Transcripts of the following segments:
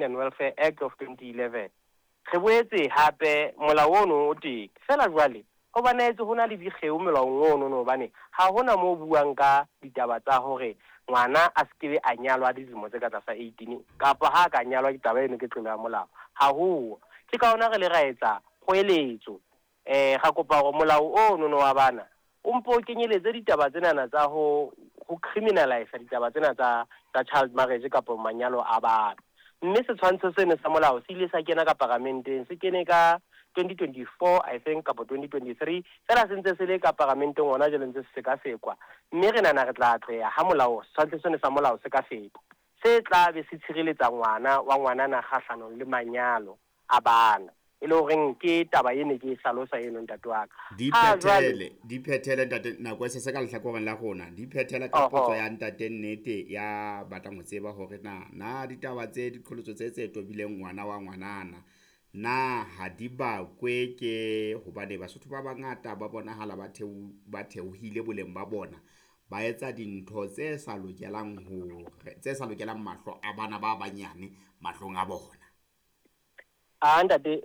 And Welfare Act of 2011. Re boetse hape molao ono o teng. Feela jwale ho bonahetse ho na le dikgeo molaong ono no hobane ha hona moo buang ka ditaba tsa hore ngwana a se ke be a nyalwa dilemo tse ka tlasa 18 kapa ha a ka nyalwa ke taba eno ke tlolo ya molao. Ha ho. Ke ka hona re le ra etsa kgoeletso, ra kopa hore molao ono no wa bana o mpo o kenyeletse ditaba tsenana tsa ho criminalize ditaba tsena tsa child marriage kapa manyalo a bana. Mme setshwantsho seno sa molao se ile sa kena ka paramenteng, se kene ka 2024, I think, kapa 2023. Fela se ntse se le ka paramenteng hona jwale, ntse se sekasekwa, mme re nahana re tla atleha ha molao, setshwantsho seno sa molao se ka feta, se tla be se tshireletsa ngwana wa ngwanana kgahlanong le manyalo a bana, e le horeng ke taba e ne ke e hlalosa eno, ntate wa ka. Di Ha jwale phethele, di phethele, ntate, nako e se se ka lehlakoreng la rona. Di phethele ka potso ya ntate Nnete ya batlang ho tseba hore na ditaba tse diqholotso tse tobileng ngwana wa ngwanana na ha di bakwe ke hobane Basotho ba bangata ba bonahala ba theohile boleng ba bona, ba etsa dintho tse sa lokelang hore tse sa lokelang mahlo a bana ba banyane mahlong a bona. A ntate,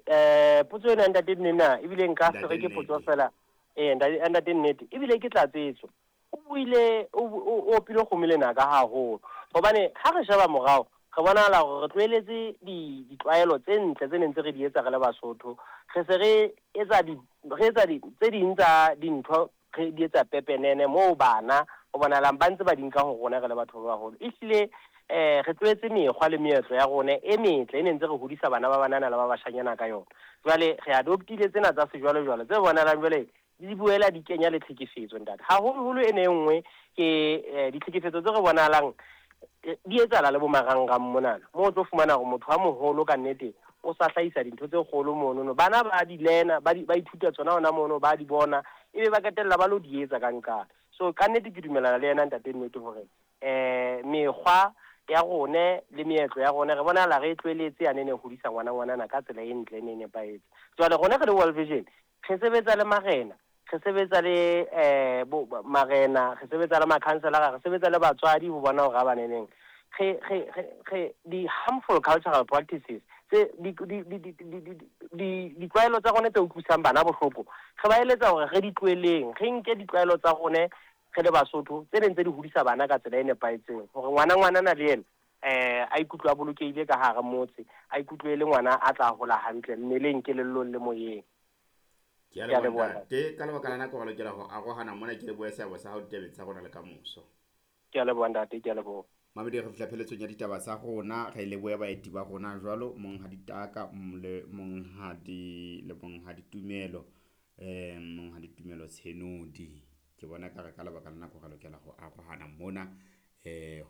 potso ena, ntate nna ebile nka se re Ntate ke potso Nnete. fela, ntate Nnete, ebile ke tlatsetso. O buile, o opile kgomo lenaka haholo, hobane ha re sheba morao re bonahala hore re tlohelletse ditlwaelo tse ntle tse neng tse re di etsa re le Basotho. Re se re etsa di re etsa di tse ding tsa dintho, re di etsa pepenene moo bana ho bonahalang ba ntse ba di nka ho rona re le batho ba baholo. Ehlile re tlohetse mekgwa le meetlo ya rona e metle e ne ntse re hodisa bana ba banana le ba bashanyana ka yona. Jwale re adoptile tsena tsa sejwalejwale tse bonahalang jwale di boela di kenya le tlhekefetso, ntate. Haholoholo e ne e nngwe ke ditlhekefetso tse re bonahalang di etsahala le bo marangrang monana, moo o tlo fumana hore motho a moholo ka nnete o sa hlahisa dintho tse kgolo monono. Bana ba di learn-a, ba ithuta tsona hona mono, ba di bona, ebe ba qetella ba lo di etsa ka nqane. So ka nnete ke dumellana le yena ntate Nnete hore mekgwa ya rone le meetlo ya rone re bonahala re e tlohelletse yane e ne hodisa ngwana ngwanana ka tsela e ntle e ne e nepahetse. Jwale rona re le World Vision re sebetsa le marena, re sebetsa le marena, re sebetsa le makhanselara, re sebetsa le batswadi ho bona hore ha baneneng re di harmful cultural practices tse di ditlwaelo tsa rone tse utlwisang bana bohloko, re ba eletsa hore re di tlohelleng, re nke ditlwaelo tsa rone re le Basotho tse neng tse di hodisa bana ka tsela e nepahetseng, hore ngwana ngwanana le yena a ikutlwe a bolokehile ka hara motse, a ikutlwe e le ngwana a tla hola hantle mmeleng, kelellong le moyeng. Ke a Ke a leboha, leboha. ntate. Ka lebaka la nako re lokela ho arohana mona. Ke lebohe seabo sa hao ditabeng tsa rona le kamoso. Ke a leboha, ntate, ke a leboha. Mamedi, re fihla pheletsong ya ditaba tsa rona. Re lebohe baeti ba rona jwalo monghadi Taka le monghadi le monghadi Tumelo, monghadi Tumelo Tshenodi. Ke bona ka re ka lebaka la nako re lokela ho arohana mona,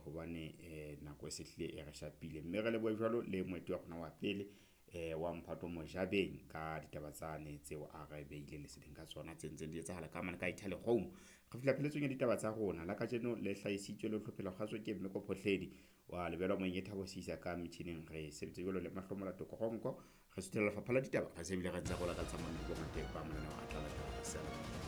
hobane nako e se hlile e re shapile, mme re lebohe jwalo le moeti wa rona wa pele, wa Mphato Mojabeng, ka ditaba tsane tseo a re beile leseding ka tsona tse ntseng di etsahala ka mane ka Italy Rome. Re fihla pheletsong ya ditaba tsa rona la kajeno le hlahisitswe le hlophela kgaso ke Mmeko Phohledi wa lebelwa moeng e Thabo Sisa ka metjhining. Re sebetse jwalo le Mahlomola Tokoronko. Re suthela lefapha la ditaba, re se bile re ntse re lakatsa mamedi bongata ba mananeo a tla latela.